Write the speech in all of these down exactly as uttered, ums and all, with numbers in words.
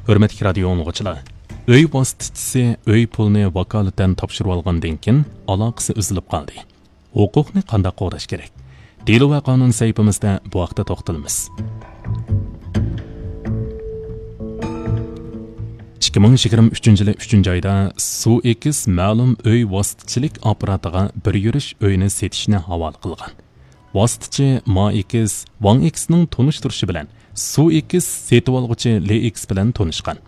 ھۆرمەتلىك رادىيو ئاڭلىغۇچىلار، ئۆي ۋاسىتىچىسى ئۆي پۇلىنى ۋاكالىتەن تاپشۇرۇۋالغاندىن كېيىن ئالاقىسى ئۈزۈلۈپ قالدى. ھوقۇقنى قانداق قوغداش كېرەك؟ دېلو ۋە قانۇن سەھىپىمىزدە بۇ ھەقتە توختىلىمىز. ئىككى مىڭ يىگىرمە ئۈچىنچى يىلى ئۈچىنچى ئايدا سۇ ئېكىس مەلۇم ئۆي ۋاسىتىچىلىك ئاپپاراتىغا بىر يۈرۈش ئۆينى سېتىشنى ھاۋالە قىلغان. ۋاسىتىچى ما ئېكىس، ۋاڭ ئېكىسنىڭ تونۇشتۇرۇشى بىلەن سۇ ئېكىس سېتىۋالغۇچى لى ئېكىس بىلەن تونۇشقان.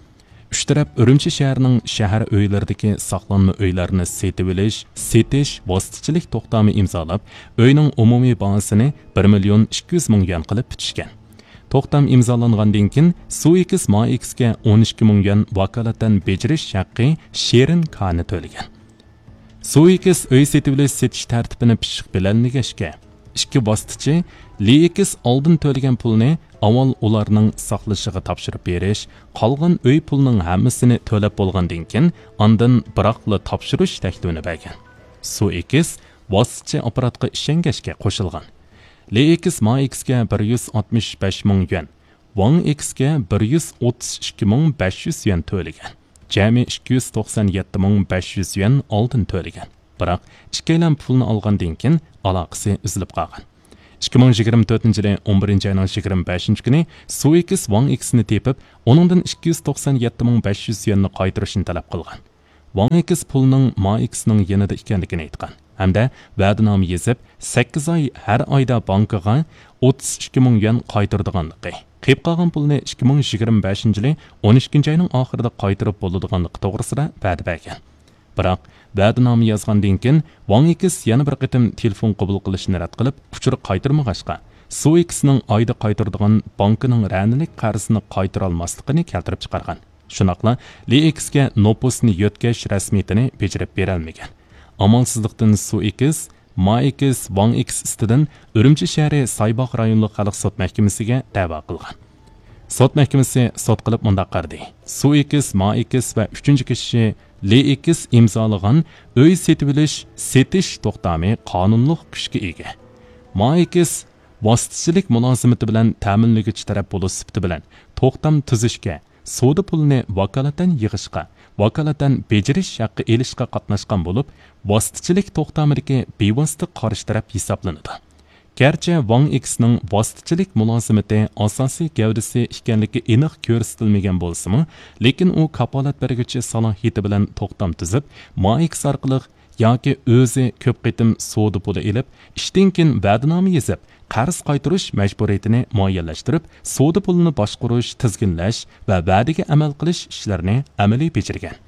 ئۈچ تەرەپ ئۈرۈمچى شەھىرىنىڭ شەھەر ئۆيلىرىدىكى ساقلانما ئۆيلەرنى سېتىۋېلىش، سېتىش ۋاسىتىچىلىك توختامى ئىمزالاپ، ئۆينىڭ ئومۇمىي باھاسىنى بىر مىليون ئىككى يۈز مىڭ يۈەن قىلىپ پۈتۈشكەن. توختام ئىمزالانغاندىن كېيىن، سۇ ئېكىس ما ئېكىسكە ئون ئىككى مىڭ يۈەن ۋاكالىتەن بېجىرىش ھەققى شېرىن كانى تۆلىگەن. سۇ ئېكىس ئۆي سېتىۋېلىش سېتىش تەرتىپىنى پىششىق بىلەلمىگەچكە، ئىككى ۋاسىتىچى لى ئېكىس ئالدىن تۆلىگەن پۇلنى ئاۋۋال ئۇلارنىڭ ساقلىشىغا تاپشۇرۇپ بېرىش، قالغان ئۆي پۇلىنىڭ ھەممىسىنى تۆلەپ بولغاندىن كېيىن، ئاندىن بىراقلا تاپشۇرۇش تەكلىپىنى بەرگەن. سۇ ئېكىس ۋاسىتىچى ئاپپاراتقا ئىشەنگەچكە قوشۇلغان. لى ئېكىس ما ئېكىسكە بىر يۈز ئاتمىش بەش مىڭ يۈەن، ۋاڭ ئېكىسكە بىر يۈز ئوتتۇز ئىككى مىڭ بەش يۈز يۈەن تۆلىگەن. جەمئىي ئىككى يۈز توقسان يەتتە مىڭ بەش يۈز يۈەن ئالدىن تۆلىگەن. بىراق، ئىككىيلەن پۇلنى ئالغاندىن كېيىن ئالاقىسى ئۈزۈلۈپ قالغان. ئىككى مىڭ يىگىرمە تۆتىنچى يىلى ئون بىرىنچى ئاينىڭ يىگىرمە بەشىنچى كۈنى سۇ ئېكىس ۋاڭ ئېكىسنى تېپىپ، ئۇنىڭدىن ئىككى يۈز توقسان يەتتە مىڭ بەش يۈز يۈەننى قايتۇرۇشنى تەلەپ قىلغان. ۋاڭ ئېكىس پۇلنىڭ ما ئېكىسنىڭ يېنىدا ئىكەنلىكىنى ئېيتقان ھەمدە ۋەدىنامە يېزىپ، سەككىز ئاي ھەر ئايدا بانكىغا ئوتتۇز ئىككى مىڭ يۈەن قايتۇرىدىغانلىقى، قېلىپ قالغان پۇلنى ئىككى مىڭ يىگىرمە بەشىنچى يىلى ئون ئىككىنچى ئاينىڭ ئاخىرىدا قايتۇرۇپ بولىدىغانلىقى توغرىسىدا ۋەدە بەرگەن. بىراق، ۋەدىنامە يازغاندىن كېيىن، ۋاڭ ئېكىس يەنە بىر قېتىم تېلېفون قوبۇل قىلىشنى رەت قىلىپ، ئۇچۇر قايتۇرمىغاچقا، سۇ ئېكىسنىڭ ئايدا قايتۇرىدىغان بانكىنىڭ رەنىلىك قەرزىنى قايتۇرالماسلىقىنى كەلتۈرۈپ چىقارغان. شۇنداقلا لى ئېكىسكە نوپۇسنى يۆتكەش رەسمىيىتىنى بېجىرىپ بېرەلمىگەن. ئامالسىزلىقتىن سۇ ئېكىس، ما ئېكىس، ۋاڭ ئېكىس ئۈستىدىن ئۈرۈمچى شەھىرى سايباغ رايونلۇق خەلق سوت مەھكىمىسىگە دەۋا قىلغان. سوت مەھكىمىسى سوت قىلىپ مۇنداق قارىدى: سۇ ئېكىس، ما ئېكىس ۋە ئۈچىنچى كىشى لى ئېكىس ئىمزالىغان ئۆي سېتىۋېلىش، سېتىش توختامى قانۇنلۇق كۈچكە ئىگە. ما ئېكىس ۋاسىتىچىلىك مۇلازىمىتى بىلەن تەمىنلىگۈچى تەرەپ بولۇش سۈپىتى بىلەن توختام تۈزۈشكە، سودا پۇلىنى ۋاكالىتەن يىغىشقا، ۋاكالىتەن بېجىرىش ھەققى ئېلىشقا قاتناشقان بولۇپ، ۋاسىتىچىلىك توختامىدىكى بىۋاسىتە قارشى تەرەپ ھېسابلىنىدۇ. گەرچە ۋاڭ ئېكىسنىڭ ۋاسىتىچىلىك مۇلازىمىتى ئاساسىي گەۋدىسى ئىكەنلىكى ئېنىق كۆرسىتىلمىگەن بولسىمۇ، لېكىن ئۇ كاپالەت بەرگۈچى سالاھىيىتى بىلەن توختام تۈزۈپ، ما ئېكىس ئارقىلىق ياكى ئۆزى كۆپ قېتىم سودا پۇلى ئېلىپ، ئىشتىن كېيىن ۋەدىنامە يېزىپ، قەرز قايتۇرۇش مەجبۇرىيىتىنى مۇئەييەنلەشتۈرۈپ، سودا پۇلىنى باشقۇرۇش، تىزگىنلەش ۋە ۋەدىگە ئەمەل قىلىش ئىشلىرىنى ئەمەلىي بېجىرگەن.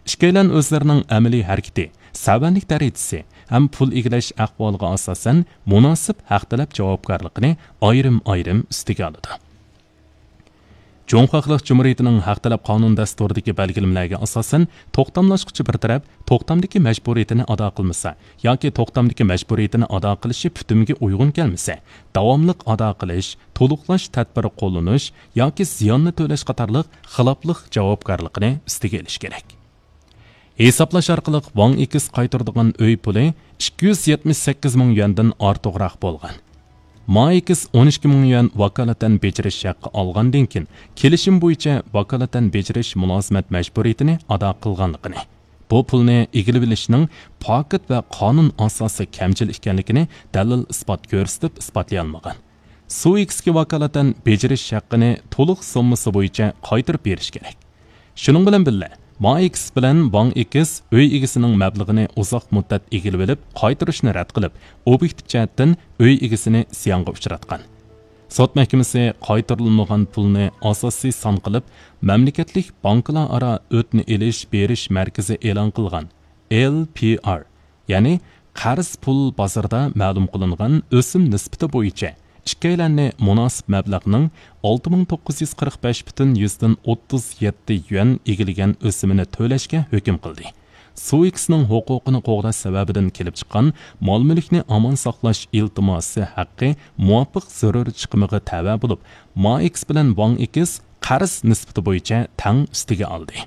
ئىككىيلەن ئۆزلىرىنىڭ ئەمەلىي ھەرىكىتى، سەۋەنلىك دەرىجىسى ھەم پۇل ئىگىلەش ئەھۋالىغا ئاساسەن، مۇناسىپ ھەق تەلەپ جاۋابكارلىقىنى ئايرىم-ئايرىم ئۈستىگە ئالىدۇ. جۇڭخۇا خەلق جۇمھۇرىيىتىنىڭ ھەق تەلەپ قانۇن دەستۇرىدىكى بەلگىلىمىلەرگە ئاساسەن، توختاملاشقۇچى بىر تەرەپ توختامدىكى مەجبۇرىيىتىنى ئادا قىلمىسا ياكى توختامدىكى مەجبۇرىيىتىنى ئادا قىلىشى پۈتۈمگە ئۇيغۇن كەلمىسە، داۋاملىق ئادا قىلىش، تولۇقلاش تەدبىرى قوللىنىش ياكى زىياننى تۆلەش قاتارلىق خىلاپلىق جاۋابكارلىقىنى ئۈستىگە ئېلىش كېرەك. ھېسابلاش ئارقىلىق ۋاڭ ئېكىس قايتۇرىدىغان ئۆي پۇلى ئىككى يۈز يەتمىش سەككىز مىڭ يۈەندىن ئارتۇقراق بولغان. ما ئېكىس ئون ئىككى مىڭ يۈەن ۋاكالىتەن بېجىرىش ھەققى ئالغاندىن كېيىن، كېلىشىم بويىچە ۋاكالىتەن بېجىرىش مۇلازىمەت مەجبۇرىيىتىنى ئادا قىلغانلىقىنى، بۇ پۇلنى ئىگىلىۋېلىشنىڭ پاكىت ۋە قانۇن ئاساسى كەمچىل ئىكەنلىكىنى دەلىل ئىسپات كۆرسىتىپ ئىسپاتلىيالمىغان. سۇ ئېكىسكە ۋاكالىتەن بېجىرىش ھەققىنى تولۇق سوممىسى بويىچە قايتۇرۇپ بېرىش كېرەك. شۇنىڭ بىلەن بىللە، ما ئېكىس بىلەن ۋاڭ ئېكىس ئۆي ئىگىسىنىڭ مەبلىغىنى ئۇزاق مۇددەت ئىگىلىۋېلىپ، قايتۇرۇشنى رەت قىلىپ، ئوبيېكتىپ جەھەتتىن ئۆي ئىگىسىنى زىيانغا ئۇچراتقان. سوت مەھكىمىسى قايتۇرۇلمىغان پۇلنى ئاساسىي سان قىلىپ، مەملىكەتلىك بانكىلار ئارا ئۆتنە ئېلىش بېرىش مەركىزى ئېلان قىلغان ئېل پى ئار، يەنى قەرز پۇل بازىرىدا مەلۇم قىلىنغان ئۆسۈم نىسبىتى بويىچە ئىككىيلەننى مۇناسىپ مەبلەغنىڭ ئالتە مىڭ توققۇز يۈز قىرىق بەش پۈتۈن يۈزدىن ئوتتۇز يەتتە يۈەن ئىگىلىگەن ئۆسۈمىنى تۆلەشكە ھۆكۈم قىلدى. سۇ ئېكىسنىڭ ھوقۇقىنى قوغداش سەۋەبىدىن كېلىپ چىققان مال-مۈلۈكنى ئامان ساقلاش ئىلتىماسى ھەققى مۇۋاپىق زۆرۈر چىقىمىغا تەۋە بولۇپ، ما ئېكىس بىلەن ۋاڭ ئېكىس قەرز نىسبىتى بويىچە تەڭ ئۈستىگە ئالدى.